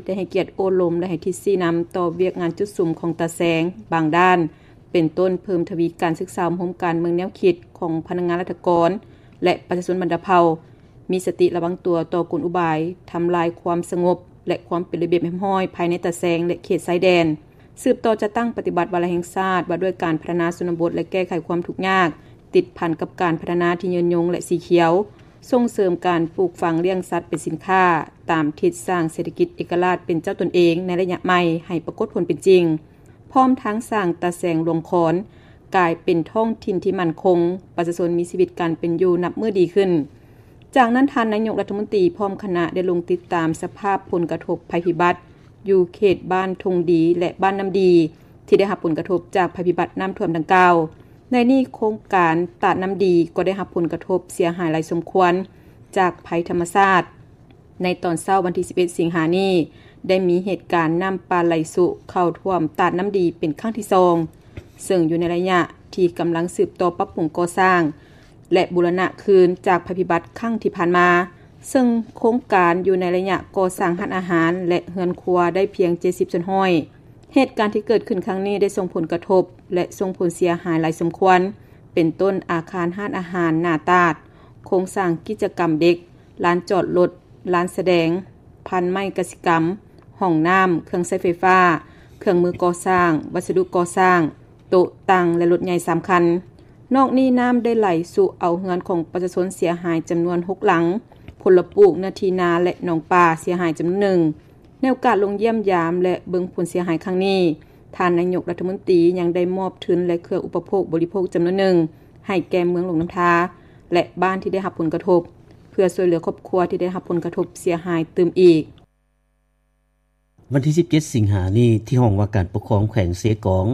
ໄດ້ໃຫ້ກຽດໂອ້ລົມ ແລະ ໃຫ້ທິດຊີ້ນຳຕໍ່ວຽກງານຈຸດສຸມຂອງຕາແສງບາງດ້ານ ເປັນຕົ້ນເພີ່ມທະວີການສຶກສາອົບຮົມການເມືອງແນວຄິດຂອງພະນັກງານລັດຖະກອນ ແລະ ປະຊາຊົນບັນດາເຜົ່າ ມີສະຕິລະວັງຕົວຕໍ່ກົນອຸບາຍທຳລາຍຄວາມສະຫງົບ ແລະ ຄວາມເປັນລະບຽບຮຽບຮ້ອຍພາຍໃນຕາແສງ ແລະ ເຂດຊາຍແດນ. ສືບຕໍ່ຈັດຕັ້ງປະຕິບັດວາລະແຫ່ງຊາດວ່າດ້ວຍການພັດທະນາຊົນນະບົດ ແລະ ແກ້ໄຂຄວາມທຸກຍາກ ຕິດພັນກັບການພັດທະນາທີ່ຍືນຍົງ ແລະ ສີຂຽວ, ສົ່ງເສີມການປູກຝັງລ້ຽງສັດເປັນສິນຄ້າ ຕາມທິດສ້າງເສດຖະກິດເອກະລາດເປັນເຈົ້າຕົນເອງໃນໄລຍະໃໝ່ໃຫ້ປາກົດຜົນເປັນຈິງ, ພ້ອມທັງສ້າງຕາແສງຫຼວງຄອນກາຍເປັນທ້ອງຖິ່ນທີ່ໝັ້ນຄົງ, ປະຊາຊົນມີຊີວິດການເປັນຢູ່ນັບມື້ດີຂຶ້ນ. ຈາກນັ້ນ ທ່ານນາຍົກລັດຖະມົນຕີພ້ອມຄະນະໄດ້ລົງຕິດຕາມສະພາບຜົນກະທົບໄພພິບັດ ຢູ່ເຂດບ້ານທົ່ງດີ ແລະ ບ້ານນ້ຳດີ ທີ່ໄດ້ຮັບຜົນກະທົບຈາກໄພພິບັດນ້ຳຖ້ວມດັ່ງກ່າວ. ໃນນີ້ໂຄງການຕາດນ້ຳດີກໍໄດ້ຮັບຜົນກະທົບເສຍຫາຍຫຼາຍສົມຄວນຈາກໄພທຳມະຊາດ. ໃນຕອນເຊົ້າວັນທີສິບເອັດ ສິງຫານີ້ ໄດ້ມີເຫດການນ້ຳປ່າໄຫຼຊຸເຂົ້າຖ້ວມຕາດນ້ຳດີເປັນຄັ້ງທີສອງ ເຊິ່ງຢູ່ໃນໄລຍະທີ່ກຳລັງສືບຕໍ່ປັບປຸງກໍ່ສ້າງ ແລະ ບູລະນະຄືນຈາກໄພພິບັດຄັ້ງທີ່ຜ່ານມາ, ເຊິ່ງໂຄງການຢູ່ໃນໄລຍະກໍ່ສ້າງຮ້ານອາຫານ ແລະ ເຮືອນຄົວໄດ້ພຽງເຈັດສິບສ່ວນຮ້ອຍ. ເຫດການທີ່ເກີດຂຶ້ນຄັ້ງນີ້ໄດ້ສົ່ງຜົນກະທົບ ແລະ ສົ່ງຜົນເສຍຫາຍຫຼາຍສົມຄວນ, ເປັນຕົ້ນອາຄານຮ້ານອາຫານໜ້າຕາດ, ໂຄງສ້າງກິດຈະກຳເດັກ, ລານຈອດລົດ, ລານສະແດງ, ພັນໄມ້ກະສິກຳ, ຫ້ອງນ້ຳ, ເຄື່ອງໃຊ້ໄຟຟ້າ, ເຄື່ອງມືກໍ່ສ້າງ, ວັດສະດຸກໍ່ສ້າງ, ໂຕະຕັ່ງ ແລະ ລົດໃຫຍ່ສາມຄັນ. ນອກນີ້ນ້ຳໄດ້ໄຫຼຊຸເອົາເຮືອນຂອງປະຊາຊົນເສຍຫາຍຈຳນວນຫົກຫຼັງ, ຜົນລະປູກ, ເນື້ອທີ່ນາ ແລະ ໜອງປາເສຍຫາຍຈຳນວນໜຶ່ງ. ໃນໂອກາດລົງຢ້ຽມຢາມ ແລະ ເບິ່ງຜົນເສຍຫາຍຄັ້ງນີ້, ທ່ານນາຍົກລັດຖະມົນຕີຍັງໄດ້ມອບທຶນ ແລະ ເຄື່ອງອຸປະໂພກບໍລິໂພກຈຳນວນໜຶ່ງ ໃຫ້ແກ່ເມືອງຫຼວງນ້ຳທາ ແລະ ບ້ານທີ່ໄດ້ຮັບຜົນກະທົບ ເພື່ອຊ່ວຍເຫຼືອຄອບຄົວທີ່ໄດ້ຮັບຜົນກະທົບເສຍຫາຍຕື່ມອີກ. ວັນທີສິບເຈັດ ສິງຫານີ້ ທີ່ຫ້ອງວ່າການປົກຄອງແຂວງເຊກອງ,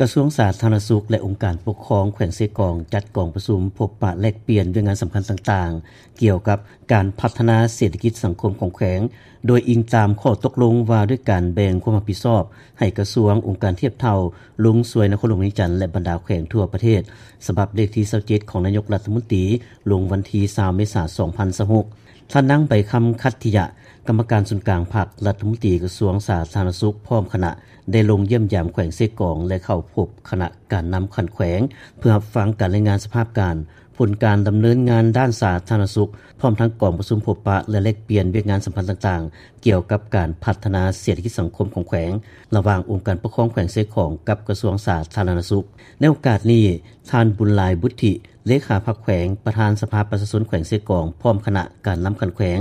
ກະຊວງສາທາລະນະສຸກ ແລະ ອົງການປົກຄອງແຂວງເຊກອງ ຈັດກອງປະຊຸມພົບປະແລກປ່ຽນວຽກງານສຳຄັນຕ່າງໆ ກ່ຽວກັບການພັດທະນາເສດຖະກິດສັງຄົມຂອງແຂວງ, ໂດຍອີງຕາມຂໍ້ຕົກລົງວ່າດ້ວຍການແບ່ງຄວາມຮັບຜິດຊອບໃຫ້ກະຊວງ, ອົງການທຽບເທົ່າລົງຊ່ວຍນະຄອນຫຼວງວຽງຈັນ ແລະ ບັນດາແຂວງທົ່ວປະເທດ, ສະບັບເລກທີຊາວເຈັດ ຂອງນາຍົກລັດຖະມົນຕີ ລົງວັນທີຊາວ ເມສາ ສອງພັນຊາວຫົກ. ທ່ານນາງ ໃບຄຳ ຂັດທິຍະ ກຳມະການສູນກາງພັກ, ລັດຖະມົນຕີກະຊວງສາທາລະນະສຸກ ພ້ອມຄະນະ ໄດ້ລົງຢ້ຽມຢາມແຂວງເຊກອງ ແລະ ເຂົ້າພົບຄະນະການນຳຂັ້ນແຂວງ ເພື່ອຮັບຟັງການລາຍງານສະພາບການ, ຜົນການດຳເນີນງານດ້ານສາທາລະນະສຸກ, ພ້ອມທັງກອງປະຊຸມພົບປະ ແລະ ແລກປ່ຽນວຽກງານສຳຄັນຕ່າງໆ ກ່ຽວກັບການພັດທະນາເສດຖະກິດສັງຄົມຂອງແຂວງ ລະຫວ່າງອົງການປົກຄອງແຂວງເຊກອງ ກັບກະຊວງສາທາລະນະສຸກ. ໃນໂອກາດນີ້, ທ່ານ ບຸນຫຼາຍ ບຸດທິ ເລຂາພັກແຂວງ, ປະທານສະພາປະຊາຊົນແຂວງເຊກອງ ພ້ອມຄະນະການນຳຂັ້ນແຂວງ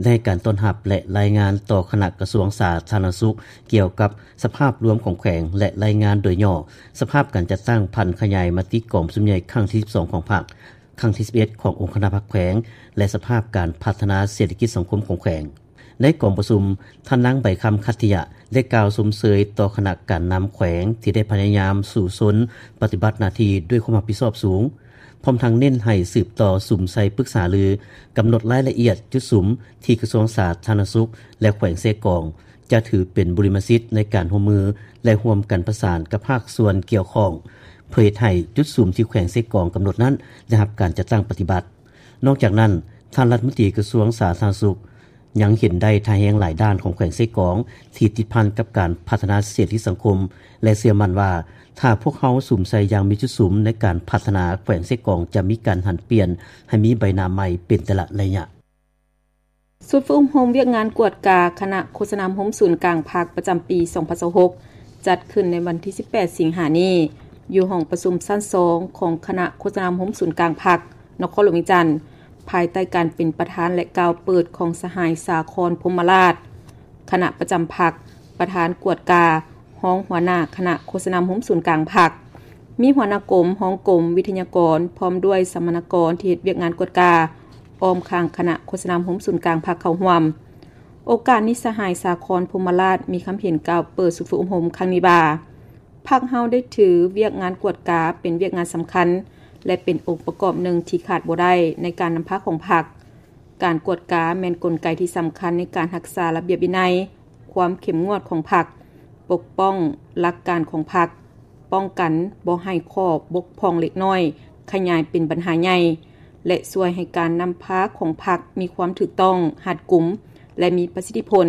ໄດ້ໃຫ້ການຕ້ອນຮັບ ແລະ ລາຍງານຕໍ່ຄະນະກະຊວງສາທາລະນະສຸກ ກ່ຽວກັບສະພາບລວມຂອງແຂວງ ແລະ ລາຍງານໂດຍຫຍໍ້ສະພາບການຈັດຕັ້ງຜັນຂະຫຍາຍມະຕິກອງປະຊຸມໃຫຍ່ຄັ້ງທີສິບສອງຂອງພັກ, ຄັ້ງທີສິບເອັດຂອງອົງຄະນະພັກແຂວງ ແລະ ສະພາບການພັດທະນາເສດຖະກິດສັງຄົມຂອງແຂວງ. ໃນກອງປະຊຸມ, ທ່ານນາງ ໃບຄຳ ຂັດທິຍະ ໄດ້ກ່າວຊົມເຊີຍຕໍ່ຄະນະການນຳແຂວງທີ່ໄດ້ພະຍາຍາມສູ້ຊົນປະຕິບັດໜ້າທີ່ດ້ວຍຄວາມຮັບຜິດຊອບສູງ, ພ້ອມທັງເນັ້ນໃຫ້ສືບຕໍ່ສຸມໃສ່ປຶກສາລື, ກຳນົດລາຍລະອຽດຈຸດສຸມທີ່ກະຊວງສາທາລະນະສຸກ ແລະ ແຂວງເຊກອງ ຈະຖືເປັນບຸລິມະສິດໃນການຮ່ວມມື ແລະ ຮ່ວມກັນປະສານກັບພາກສ່ວນກ່ຽວຂ້ອງ ເພື່ອເຮັດໃຫ້ຈຸດສຸມທີ່ແຂວງເຊກອງກຳນົດນັ້ນໄດ້ຮັບການຈັດຕັ້ງປະຕິບັດ. ນອກຈາກນັ້ນ, ທ່ານລັດຖະມົນຕີກະຊວງສາທາລະນະສຸກ ຍັງເຫັນໄດ້ທ່າແຮງຫຼາຍດ້ານຂອງແຂວງເຊກອງ ທີ່ຕິດພັນກັບການພັດທະນາເສດຖະກິດສັງຄົມ ແລະ ເຊື່ອໝັ້ນວ່າ ຖ້າພວກເຮົາສຸມໃສ່ຢ່າງມີຈຸດສຸມໃນການພັດທະນາ, ແຂວງເຊກອງຈະມີການຫັນປ່ຽນໃຫ້ມີໃບໜ້າໃໝ່ເປັນແຕ່ລະໄລຍະ. ຊຸດຝຶກອົບຮົມວຽກງານກວດກາຄະນະໂຄສະນາອົບຮົມສູນກາງພັກປະຈຳປີສອງພັນຊາວຫົກ ຈັດຂຶ້ນໃນວັນທີສິບແປດ ສິງຫານີ້ ຢູ່ຫ້ອງປະຊຸມຊັ້ນສອງຂອງຄະນະໂຄສະນາອົບຮົມສູນກາງພັກ ນະຄອນຫຼວງວຽງຈັນ, ພາຍໃຕ້ການເປັນປະທານ ແລະ ກ່າວເປີດຂອງສະຫາຍ ສາຄອນ ພົມມະລາດ, ຄະນະປະຈຳພັກ, ປະທານກວດກາ, ຮອງຫົວໜ້າຄະນະໂຄສະນາອົບຮົມສູນກາງພັກ, ມີຫົວໜ້າກົມ, ຮອງກົມ, ວິທະຍາກອນ ພ້ອມດ້ວຍສຳມະນາກອນທີ່ເຮັດວຽກງານກວດກາ ອ້ອມຂ້າງຄະນະໂຄສະນາອົບຮົມສູນກາງພັກເຂົ້າຮ່ວມ. ໂອກາດນີ້ ສະຫາຍ ສາຄອນ ພົມມະລາດ ມີຄຳເຫັນກ່າວເປີດຊຸດຝຶກອົບຮົມຄັ້ງນີ້ວ່າ, ພັກເຮົາໄດ້ຖືວຽກງານກວດກາເປັນວຽກງານສຳຄັນ ແລະ ເປັນອົງປະກອບໜຶ່ງທີ່ຂາດບໍ່ໄດ້ໃນການນຳພາຂອງພັກ. ການກວດກາແມ່ນກົນໄກທີ່ສຳຄັນໃນການຮັກສາລະບຽບວິໄນ, ຄວາມເຂັ້ມງວດຂອງພັກ, ປົກປ້ອງຫຼັກການຂອງພັກ, ປ້ອງກັນບໍ່ໃຫ້ຂໍ້ບົກຜ່ອງເລັກນ້ອຍຂະຫຍາຍເປັນບັນຫາໃຫຍ່ ແລະ ຊ່ວຍໃຫ້ການນຳພາຂອງພັກມີຄວາມຖືກຕ້ອງ, ຮັດກຸມ ແລະ ມີປະສິດທິຜົນ.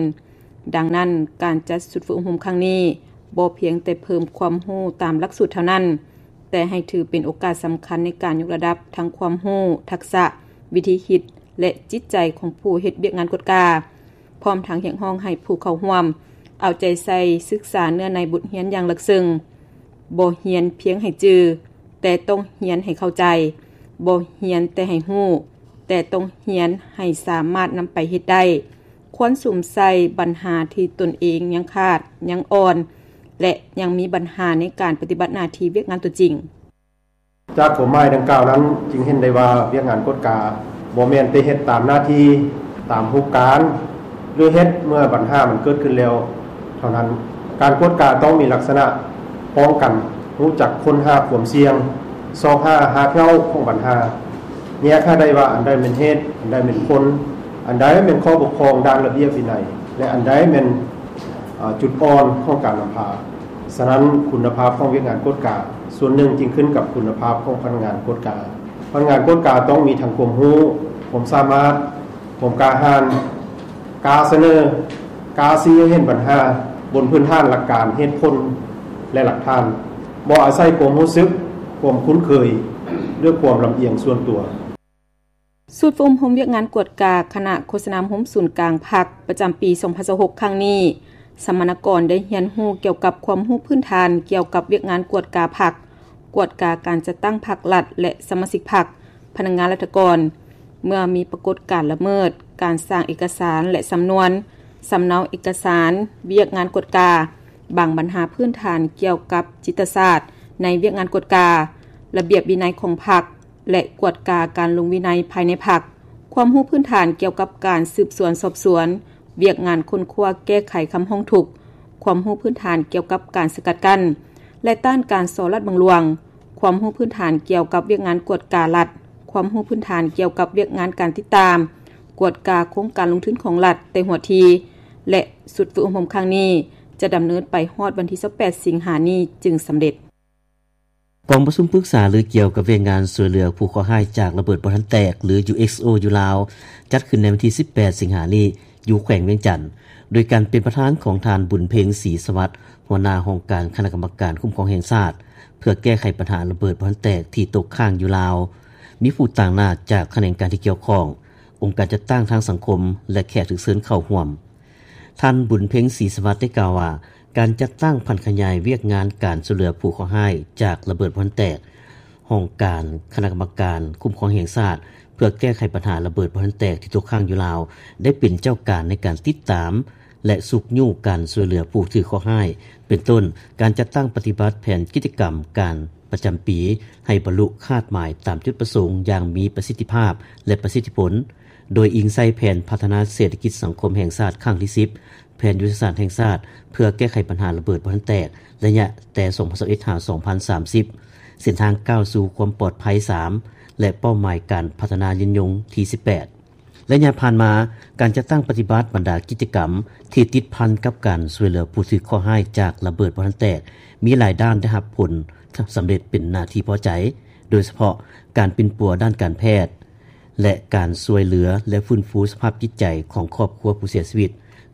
ດັ່ງນັ້ນ, ການຈັດຊຸດຝຶກອົບຮົມຄັ້ງນີ້ ບໍ່ພຽງແຕ່ເພີ່ມຄວາມຮູ້ຕາມຫຼັກສູດເທົ່ານັ້ນ, ແຕ່ໃຫ້ຖືເປັນໂອກາດສຳຄັນໃນການຍົກລະດັບທັງຄວາມຮູ້, ທັກສະ, ວິທີຄິດ ແລະ ຈິດໃຈຂອງຜູ້ເຮັດວຽກງານກວດກາ, ພ້ອມທັງຮຽກຮ້ອງໃຫ້ຜູ້ເຂົ້າຮ່ວມເອົາໃຈໃສ່ສຶກສາເນື້ອໃນບົດຮຽນຢ່າງເລິກເຊິ່ງ. ບໍ່ຮຽນພຽງໃຫ້ຈື່, ແຕ່ຕ້ອງຮຽນໃຫ້ເຂົ້າໃຈ. ບໍ່ຮຽນແຕ່ໃຫ້ຮູ້, ແຕ່ຕ້ອງຮຽນໃຫ້ສາມາດນຳໄປເຮັດໄດ້. ຄວນສຸມໃສ່ບັນຫາທີ່ຕົນເອງຍັງຂາດ, ຍັງອ່ອນ ແລະ ຍັງມີບັນຫາໃນການປະຕິບັດໜ້າທີ່ວຽກງານຕົວຈິງ. ຈາກຄວາມໝາຍດັ່ງກ່າວນັ້ນ ຈຶ່ງເຫັນໄດ້ວ່າວຽກງານກວດກາບໍ່ແມ່ນແຕ່ເຮັດຕາມໜ້າທີ່, ຕາມຮູບການ ຫຼື ເຮັດເມື່ອບັນຫາມັນເກີດຂຶ້ນແລ້ວເທົ່ານັ້ນ. ການກວດກາຕ້ອງມີລັກສະນະປ້ອງກັນ, ຮູ້ຈັກຄົ້ນຫາຄວາມສ່ຽງ, ຊອກຫາຮາກເຫງົ້າຂອງບັນຫາ, ແຍກໃຫ້ໄດ້ວ່າອັນໃດແມ່ນເຫດ, ອັນໃດແມ່ນຜົນ, ອັນໃດແມ່ນຂໍ້ບົກຜ່ອງດ້ານລະບຽບວິໄນ ແລະ ອັນໃດແມ່ນ ເອີ່ ຈຸດອ່ອນຂອງການນຳພາ. ສະນັ້ນ, ຄຸນນະພາບຂອງວຽກງານກວດກາສ່ວນໜຶ່ງຈຶ່ງຂຶ້ນກັບຄຸນນະພາບຂອງພະນັກງານກວດກາ. ພະນັກງານກວດກາຕ້ອງມີທັງຄວາມຮູ້, ຄວາມສາມາດ, ຄວາມກ້າຫານ, ກ້າສະເໜີ, ກ້າຊີ້ໃຫ້ເຫັນບັນຫາບົນພື້ນຖານຫຼັກການ, ເຫດຜົນ ແລະ ຫຼັກຖານ, ບໍ່ອາໄສຄວາມຮູ້ສຶກ, ຄວາມຄຸ້ນເຄີຍ ຫຼື ຄວາມລຳອຽງສ່ວນຕົວ. ສູດຝຶກອົບຮົມວຽກງານກວດກາຄະນະໂຄສະນາອົບຮົມສູນກາງພັກ ປະຈຳປີສອງພັນຊາວຫົກ ຄັ້ງນີ້, ສຳມະນາກອນໄດ້ຮຽນຮູ້ກ່ຽວກັບຄວາມຮູ້ພື້ນຖານກ່ຽວກັບວຽກງານກວດກາພັກ, ກວດກາການຈັດຕັ້ງພັກລັດ ແລະ ສະມາຊິກພັກ, ພະນັກງານລັດຖະກອນ ເມື່ອມີປາກົດການລະເມີດ, ການສ້າງເອກະສານ ແລະ ສຳນວນ, ສຳເນົາເອກະສານ, ວຽກງານກວດກາ, ບາງບັນຫາພື້ນຖານກ່ຽວກັບຈິດຕະສາດໃນວຽກງານກວດກາ, ລະບຽບວິໄນຂອງພັກ ແລະ ກວດກາການລົງວິໄນພາຍໃນພັກ, ຄວາມຮູ້ພື້ນຖານກ່ຽວກັບການສືບສວນສອບສວນ, ວຽກງານຄົ້ນຄວ້າແກ້ໄຂຄຳຮ້ອງທຸກ, ຄວາມຮູ້ພື້ນຖານກ່ຽວກັບການສະກັດກັ້ນ ແລະ ຕ້ານການສໍ້ລາດບັງຫຼວງ, ຄວາມຮູ້ພື້ນຖານກ່ຽວກັບວຽກງານກວດກາລັດ, ຄວາມຮູ້ພື້ນຖານກ່ຽວກັບວຽກງານການຕິດຕາມ, ກວດກາໂຄງການລົງທຶນຂອງລັດແຕ່ຫົວທີ, ແລະ ຊຸດຝຶກອົບຮົມຄັ້ງນີ້ຈະດຳເນີນໄປຮອດວັນທີຊາວແປດ ສິງຫານີ້ຈຶ່ງສຳເລັດ. ກອງປະຊຸມປຶກສາລືກ່ຽວກັບວຽກງານຊ່ວຍເຫຼືອຜູ້ເຄາະຮ້າຍຈາກລະເບີດບໍ່ທັນແຕກ ຫຼື ຢູເອັກໂອ ຢູ່ລາວ ຈັດຂຶ້ນໃນວັນທີສິບແປດ ສິງຫານີ້ ຢູ່ແຂວງວຽງຈັນ ໂດຍການເປັນປະທານຂອງທ່ານ ບຸນເພັງ ສີສະຫວັດ ຫົວໜ້າຫ້ອງການຄະນະກຳມະການຄຸ້ມຄອງແຫ່ງຊາດ ເພື່ອແກ້ໄຂບັນຫາລະເບີດບໍ່ທັນແຕກທີ່ຕົກຄ້າງຢູ່ລາວ, ມີຜູ້ຕາງໜ້າຈາກຂະແໜງການທີ່ກ່ຽວຂ້ອງ, ອົງການຈັດຕັ້ງທາງສັງຄົມ ແລະ ແຂກຖືກເຊີນເຂົ້າຮ່ວມ. ທ່ານ ບຸນເພັງ ສີສະຫວັດ ໄດ້ກ່າວວ່າ ການຈັດຕັ້ງຜັນຂະຫຍາຍວຽກງານການຊ່ວຍເຫຼືອຜູ້ເຄາະຮ້າຍຈາກລະເບີດບໍ່ທັນແຕກ, ຫ້ອງການຄະນະກຳມະການຄຸ້ມຄອງແຫ່ງຊາດ ເພື່ອແກ້ໄຂບັນຫາລະເບີດບໍ່ທັນແຕກທີ່ຕົກຄ້າງຢູ່ລາວ ໄດ້ເປັນເຈົ້າການໃນການຕິດຕາມ ແລະ ຊຸກຍູ້ການຊ່ວຍເຫຼືອຜູ້ຖືກເຄາະຮ້າຍ, ເປັນຕົ້ນ ການຈັດຕັ້ງປະຕິບັດແຜນກິດຈະກຳການປະຈຳປີ ໃຫ້ບັນລຸຄາດໝາຍຕາມຈຸດປະສົງຢ່າງມີປະສິດທິພາບ ແລະ ປະສິດທິຜົນ, ໂດຍອີງໃສ່ແຜນພັດທະນາເສດຖະກິດສັງຄົມແຫ່ງຊາດຄັ້ງທີສິບ, ແຜນຍຸດທະສາດແຫ່ງຊາດເພື່ອແກ້ໄຂບັນຫາລະເບີດບໍ່ທັນແຕກ ໄລຍະແຕ່ສອງພັນຊາວເອັດ ຫາ ສອງພັນສາມສິບ, ເສັ້ນທາງກ້າວສູ່ຄວາມປອດໄພສາມ ແລະ ເປົ້າໝາຍການພັດທະນາຍືນຍົງທີສິບແປດ. ໄລຍະຜ່ານມາ, ການຈັດຕັ້ງປະຕິບັດບັນດາກິດຈະກຳທີ່ຕິດພັນກັບການຊ່ວຍເຫຼືອຜູ້ຖືກເຄາະຮ້າຍຈາກລະເບີດບໍ່ທັນແຕກ ມີຫຼາຍດ້ານໄດ້ຮັບຜົນສຳເລັດເປັນໜ້າທີ່ພໍໃຈ, ໂດຍສະເພາະການປິ່ນປົວດ້ານການແພດ ແລະ ການຊ່ວຍເຫຼືອ ແລະ ຟື້ນຟູສະພາບຈິດໃຈຂອງຄອບຄົວຜູ້ເສຍຊີວິດ,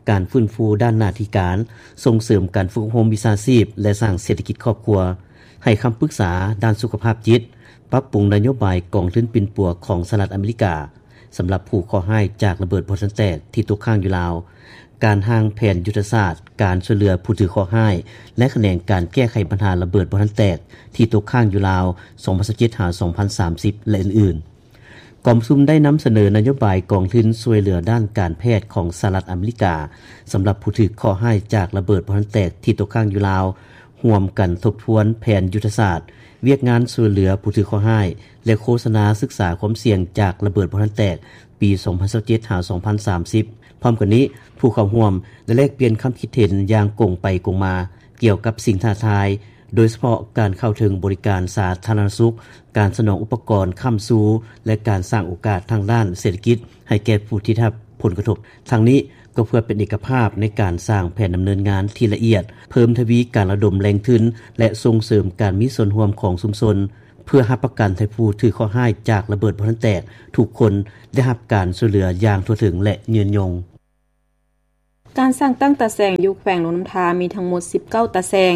ການຟື້ນຟູດ້ານໜ້າທີ່ການ, ສົ່ງເສີມການຝຶກອົບຮົມວິຊາຊີບ ແລະ ສ້າງເສດຖະກິດຄອບຄົວ, ໃຫ້ຄຳປຶກສາດ້ານສຸຂະພາບຈິດ, ປັບປຸງນະໂຍບາຍກອງທຶນປິ່ນປົວຂອງສະຫະລັດອາເມລິກາ ສຳລັບຜູ້ເຄາະຮ້າຍຈາກລະເບີດບໍ່ທັນແຕກທີ່ຕົກຄ້າງຢູ່ລາວ, ການຮ່າງແຜນຍຸດທະສາດການຊ່ວຍເຫຼືອຜູ້ຖືກເຄາະຮ້າຍ ແລະ ຂະແໜງການແກ້ໄຂບັນຫາລະເບີດບໍ່ທັນແຕກທີ່ຕົກຄ້າງຢູ່ລາວ ສອງພັນຊາວເຈັດ ຫາ ສອງພັນສາມສິບ ແລະ ອື່ນໆ. ກອງປະຊຸມໄດ້ນຳສະເໜີນະໂຍບາຍກອງທຶນຊ່ວຍເຫຼືອດ້ານການແພດຂອງສະຫະລັດອາເມລິກາ ສຳລັບຜູ້ຖືກເຄາະຮ້າຍຈາກລະເບີດບໍ່ທັນແຕກທີ່ຕົກຄ້າງຢູ່ລາວ, ຮ່ວມກັນທົບທວນແຜນຍຸດທະສາດ, ວຽກງານຊ່ວຍເຫຼືອຜູ້ຖືກເຄາະຮ້າຍ ແລະ ໂຄສະນາສຶກສາຄວາມສ່ຽງຈາກລະເບີດບໍ່ທັນແຕກ ປີສອງພັນຊາວເຈັດ ຫາ ສອງພັນສາມສິບ. ພ້ອມກັນນີ້, ຜູ້ເຂົ້າຮ່ວມໄດ້ແລກປ່ຽນຄຳຄິດເຫັນຢ່າງກົງໄປກົງມາ ກ່ຽວກັບສິ່ງທ້າທາຍ, ໂດຍສະເພາະການເຂົ້າເຖິງບໍລິການສາທາລະນະສຸກ, ການສະໜອງອຸປະກອນຄ້ຳຊູ ແລະ ການສ້າງໂອກາດທາງດ້ານເສດຖະກິດໃຫ້ແກ່ຜູ້ທີ່ໄດ້ຮັບຜົນກະທົບ. ທັງນີ້ກໍເພື່ອເປັນເອກະພາບໃນການສ້າງແຜນດຳເນີນງານທີ່ລະອຽດ, ເພີ່ມທະວີການລະດົມແຫຼ່ງທຶນ ແລະ ສົ່ງເສີມການມີສ່ວນຮ່ວມຂອງຊຸມຊົນ, ເພື່ອຮັບປະກັນໃຫ້ຜູ້ຖືກເຄາະຮ້າຍຈາກລະເບີດບໍ່ທັນແຕກທຸກຄົນໄດ້ຮັບການຊ່ວຍເຫຼືອຢ່າງທົ່ວເຖິງ ແລະ ຍືນຍົງ. ການສ້າງຕັ້ງຕາແສງຢູ່ແຂວງຫຼວງນ້ຳທາມີທັງໝົດສິບເກົ້າຕາແສງ.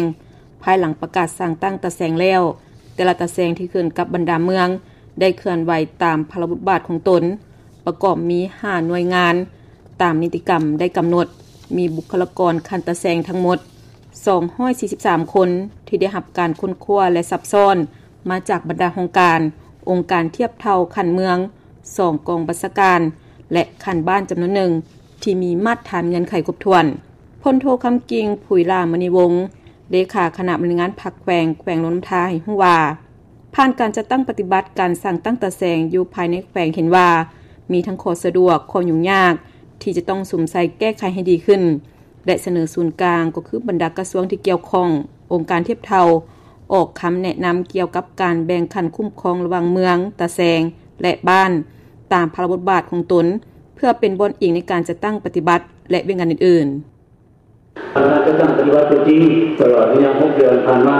ພາຍຫຼັງປະກາດສ້າງຕັ້ງຕາແສງແລ້ວ, ແຕ່ລະຕາແສງທີ່ຂຶ້ນກັບບັນດາເມືອງ ໄດ້ເຄື່ອນໄຫວຕາມພາລະບົດບາດຂອງຕົນ, ປະກອບມີຫ້າໜ່ວຍງານ ຕາມນິຕິກຳໄດ້ກຳນົດ, ມີບຸກຄະລາກອນຂັ້ນຕາແສງທັງໝົດສອງຮ້ອຍສີ່ສິບສາມຄົນ ທີ່ໄດ້ຮັບການຄົ້ນຄວ້າ ແລະ ຊັບຊ້ອນມາຈາກບັນດາຫ້ອງການ, ອົງການທຽບເທົ່າຂັ້ນເມືອງ, ສອງກອງບັນຊາການ ແລະ ຂັ້ນບ້ານຈຳນວນໜຶ່ງ ທີ່ມີມາດຖານເງື່ອນໄຂຄົບຖ້ວນ. ພົນໂທ ຄຳກິ່ງ ຜຸຍຫຼ້າມະນີວົງ ເລຂາຄະນະບໍລິຫານງານພັກແຂວງ ແຂວງຫຼວງນ້ຳທາ ໃຫ້ຮູ້ວ່າ ຜ່ານການຈັດຕັ້ງປະຕິບັດການສ້າງຕັ້ງຕາແສງຢູ່ພາຍໃນແຂວງ ເຫັນວ່າມີທັງຂໍ້ສະດວກ, ຂໍ້ຫຍຸ້ງຍາກ ທີ່ຈະຕ້ອງສຸມໃສ່ແກ້ໄຂໃຫ້ດີຂຶ້ນ ແລະ ສະເໜີສູນກາງ ກໍຄືບັນດາກະຊວງທີ່ກ່ຽວຂ້ອງ, ອົງການທຽບເທົ່າ, ອອກຄຳແນະນຳກ່ຽວກັບການແບ່ງຂັ້ນຄຸ້ມຄອງລະຫວ່າງເມືອງ, ຕາແສງ ແລະ ບ້ານ ຕາມພາລະບົດບາດຂອງຕົນ ເພື່ອເປັນບ່ອນອີງໃນການຈັດຕັ້ງປະຕິບັດ ແລະ ວຽກງານອື່ນໆ. ການຈັດຕັ້ງປະຕິບັດຕົວຈິງ ຕະຫຼອດໄລຍະຫົກເດືອນຜ່ານມາ,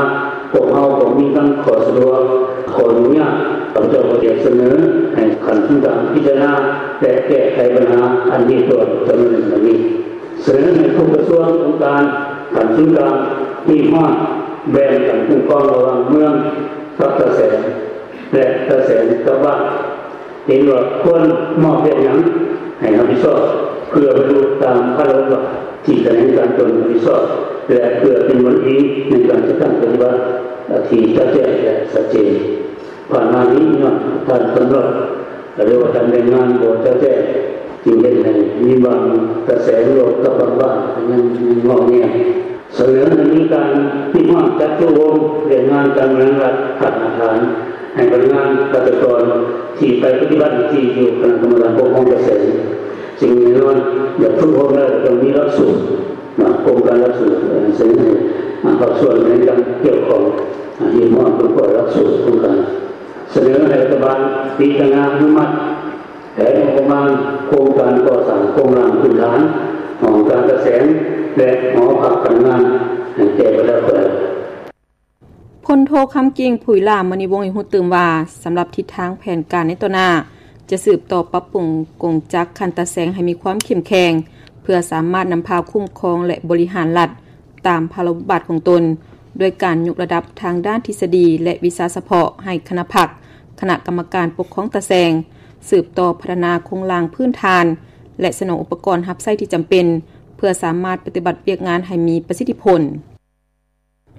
ພວກເຮົາກໍມີທັງຂໍ້ສະດວກ, ຂໍ້ຫຍຸ້ງຍາກ. ຂ້າພະເຈົ້າກໍຢາກສະເໜີໃຫ້ຂັ້ນສູນກາງພິຈາລະນາ ແລະ ແກ້ໄຂບັນຫາອັນເຮັດດ້ວຍຈຳນວນໜຶ່ງດັ່ງນີ້. ສະເໜີໃຫ້ທຸກກະຊວງ, ອົງການຂັ້ນສູນກາງ ຮີບຮ້ອນແບ່ງຂັ້ນຄຸ້ມຄອງລະຫວ່າງເມືອງກັບຕາແສງ ແລະ ຕາແສງກັບບ້ານ. ເຫັນວ່າຄວນມອບວຽກຫຍັງໃຫ້ຮັບຜິດຊອບ ເພື່ອບັນລຸຕາມພາລະບົດບາດທີ່ຂະແໜງການຕົນຮັບຜິດຊອບ ແລະ ເພື່ອເປັນບ່ອນອີງໃນການຈັດຕັ້ງປະຕິບັດທີ່ຈະແຈ້ງ ແລະ ຊັດເຈນ. ຜ່ານມານີ້ຍ້ອນການກຳນົດ ຫຼືວ່າການແບ່ງງານບໍ່ຈະແຈ້ງ ຈຶ່ງເຮັດໃຫ້ມີບາງຕາແສງລົດກັບບາງບ້ານຍັງ ຍັງງອແງ. ສະເໜີໃຫ້ມີການຮີບຮ້ອນຈັດໂຕໂຮມວຽກງານການບໍລິຫານລັດຂັ້ນຮາກຖານ ໃຫ້ພະນັກງານ ຂ້າລາຊະກອນທີ່ໄປປະຕິບັດໜ້າທີ່ຢູ່ຄະນະກຳມະການປົກຄອງຕາແສງ. ສິ່ງແນ່ນອນ ຢາກຝຶກອົບຮົມແລ້ວຕ້ອງມີຫຼັກສູດ, ນະ, ໂຄງການຫຼັກສູດ, ສະເໜີໃຫ້ ອາ, ພາກສ່ວນໃນການກ່ຽວຂ້ອງ, ອາ, ຮີບຮ້ອນຄົ້ນຄວ້າຫຼັກສູດໂຄງການ. ສະເໜີໃຫ້ລັດຖະບານພິຈາລະນາອະນຸມັດ ແຜນງົບປະມານໂຄງການກໍ່ສ້າງໂຄງລ່າງພື້ນຖານ ຫ້ອງການຕາແສງ ແລະ ຫໍພັກພະນັກງານ ໃຫ້ແກ່ແຕ່ລະແຂວງ. ພົນໂທ ຄຳກິ່ງ ຜຸຍຫຼ້າມະນີວົງ ໃຫ້ຮູ້ຕື່ມວ່າ ສຳລັບທິດທາງແຜນການໃນຕໍ່ໜ້າ ຈະສືບຕໍ່ປັບປຸງກົງຈັກຂັ້ນຕາແສງໃຫ້ມີຄວາມເຂັ້ມແຂງ ເພື່ອສາມາດນຳພາຄຸ້ມຄອງ ແລະ ບໍລິຫານລັດ ຕາມພາລະບົດບາດຂອງຕົນ ດ້ວຍການຍົກລະດັບທາງດ້ານທິດສະດີ ແລະ ວິຊາສະເພາະໃຫ້ຄະນະພັກ, ຄະນະກຳມະການປົກຄອງຕາແສງ, ສືບຕໍ່ພັດທະນາໂຄງລ່າງພື້ນຖານ ແລະ ສະໜອງອຸປະກອນຮັບໃຊ້ທີ່ຈຳເປັນ ເພື່ອສາມາດປະຕິບັດວຽກງານໃຫ້ມີປະສິດທິຜົນ.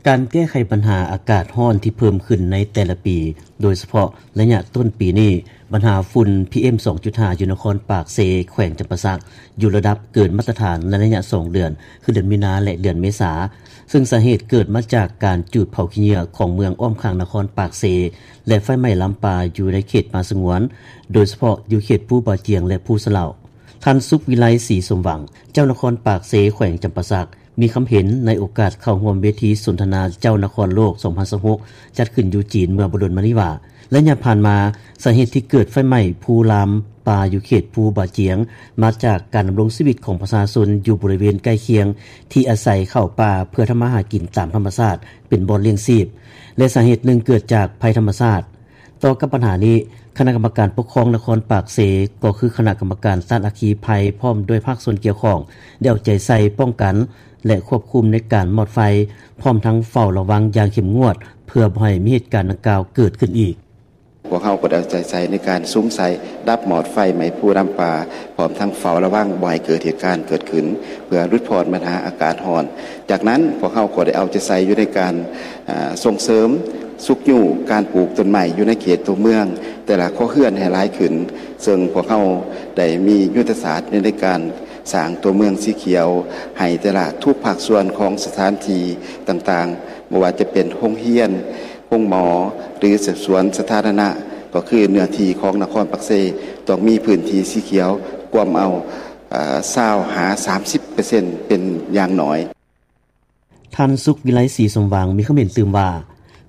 ການແກ້ໄຂບັນຫາອາກາດຮ້ອນທີ່ເພີ່ມຂຶ້ນໃນແຕ່ລະປີ, ໂດຍສະເພາະໄລຍະຕົ້ນປີນີ້, ບັນຫາຝຸ່ນ ພີເອັມ ສອງຈຸດຫ້າ ຢູ່ນະຄອນປາກເຊ, ແຂວງຈຳປາສັກ, ຢູ່ລະດັບເກີນມາດຕະຖານໃນໄລຍະສອງເດືອນ, ຄືເດືອນມີນາ ແລະ ເດືອນເມສາ, ເຊິ່ງສາເຫດເກີດມາຈາກການຈູດເຜົາຂີ້ເຫຍື້ອຂອງເມືອງອ້ອມຂ້າງນະຄອນປາກເຊ ແລະ ໄຟໄໝ້ລາມປ່າຢູ່ໃນເຂດປ່າສະຫງວນ, ໂດຍສະເພາະຢູ່ເຂດພູບາຈຽງ ແລະ ພູສະເຫຼົາ. ທ່ານ ສຸກວິໄລ ສີສົມຫວັງ, ເຈົ້ານະຄອນປາກເຊ, ແຂວງຈຳປາສັກ, ມີຄຳເຫັນໃນໂອກາດເຂົ້າຮ່ວມເວທີສົນທະນາເຈົ້ານະຄອນໂລກ ສອງພັນຊາວຫົກ ຈັດຂຶ້ນຢູ່ຈີນເມື່ອບໍ່ດົນມານີ້ວ່າ, ໄລຍະຜ່ານມາ, ສາເຫດທີ່ເກີດໄຟໄໝ້ພູລາມປ່າຢູ່ເຂດພູບາຈຽງ ມາຈາກການດຳລົງຊີວິດຂອງປະຊາຊົນຢູ່ບໍລິເວນໃກ້ຄຽງ ທີ່ອາໄສເຂົ້າປ່າເພື່ອທຳມາຫາກິນຕາມທຳມະຊາດ ເປັນບ່ອນລ້ຽງຊີບ ແລະ ສາເຫດໜຶ່ງເກີດຈາກໄພທຳມະຊາດ. ຕໍ່ກັບບັນຫານີ້, ຄະນະກຳມະການປົກຄອງນະຄອນປາກເຊ ກໍຄືຄະນະກຳມະການຕ້ານອັກຄີໄພ ພ້ອມດ້ວຍພາກສ່ວນກ່ຽວຂ້ອງ ໄດ້ເອົາໃຈໃສ່ປ້ອງກັນ ແລະ ຄວບຄຸມໃນການມອດໄຟ, ພ້ອມທັງເຝົ້າລະວັງຢ່າງເຂັ້ມງວດ ເພື່ອບໍ່ໃຫ້ມີເຫດການດັ່ງກ່າວເກີດຂຶ້ນອີກ. ພວກເຮົາກໍໄດ້ເອົາໃຈໃສ່ໃນການສຸມໃສ່ດັບມອດໄຟໄໝ້ພູລາມປ່າ, ພ້ອມທັງເຝົ້າລະວັງບໍ່ໃຫ້ເກີດເຫດການເກີດຂຶ້ນ ເພື່ອຫຼຸດຜ່ອນບັນຫາອາກາດຮ້ອນ. ຈາກນັ້ນ, ພວກເຮົາກໍໄດ້ເອົາໃຈໃສ່ຢູ່ໃນການ, ອາ, ສົ່ງເສີມ, ຊຸກຍູ້ການປູກຕົ້ນໄມ້ຢູ່ໃນເຂດຕົວເມືອງ, ແຕ່ລະຄົວເຮືອນໃຫ້ຫຼາຍຂຶ້ນ, ເຊິ່ງພວກເຮົາໄດ້ມີຍຸດທະສາດຢູ່ໃນການສ້າງຕົວເມືອງສີຂຽວ ໃຫ້ແຕ່ລະທຸກພາກສ່ວນຂອງສະຖານທີ່ຕ່າງໆ, ບໍ່ວ່າຈະເປັນໂຮງຮຽນ, ໂຮງໝໍ ຫຼື ສວນສາທາລະນະ, ກໍຄືເນື້ອທີ່ຂອງນະຄອນປາກເຊ ຕ້ອງມີພື້ນທີ່ສີຂຽວກວມເອົາ, ເອີ່, ຊາວຫາສາມສິບເປີເຊັນ ເປັນຢ່າງໜ້ອຍ. ທ່ານ ສຸກວິໄລ ສີສົມຫວັງ ມີຄຳເຫັນຕື່ມວ່າ,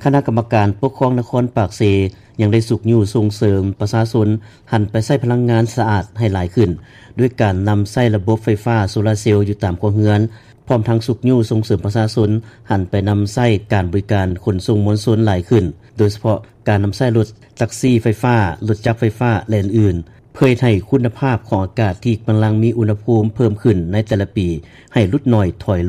ຄະນະກຳມະການປົກຄອງນະຄອນປາກເຊ ຍັງໄດ້ຊຸກຍູ້ສົ່ງເສີມປະຊາຊົນຫັນໄປໃຊ້ພະລັງງານສະອາດໃຫ້ຫຼາຍຂຶ້ນ, ດ້ວຍການນຳໃຊ້ລະບົບໄຟຟ້າໂຊລາເຊວຢູ່ຕາມຄົວເຮືອນ, ພ້ອມທັງຊຸກຍູ້ສົ່ງເສີມປະຊາຊົນຫັນໄປນຳໃຊ້ການບໍລິການຂົນສົ່ງມວນຊົນຫຼາຍຂຶ້ນ, ໂດຍສະເພາະການນຳໃຊ້ລົດແທັກຊີໄຟຟ້າ, ລົດຈັກໄຟຟ້າ ແລະ ອື່ນໆ. ເພື່ອເຮັດໃຫ້ຄຸນນະພາບຂອງອາກາດ ທີ່ກຳລັງມີອຸນຫະພູມເພີ່ມຂຶ້ນໃນແຕ່ລະປີ ໃຫ້ຫຼຸດໜ້ອຍຖອຍລົງ.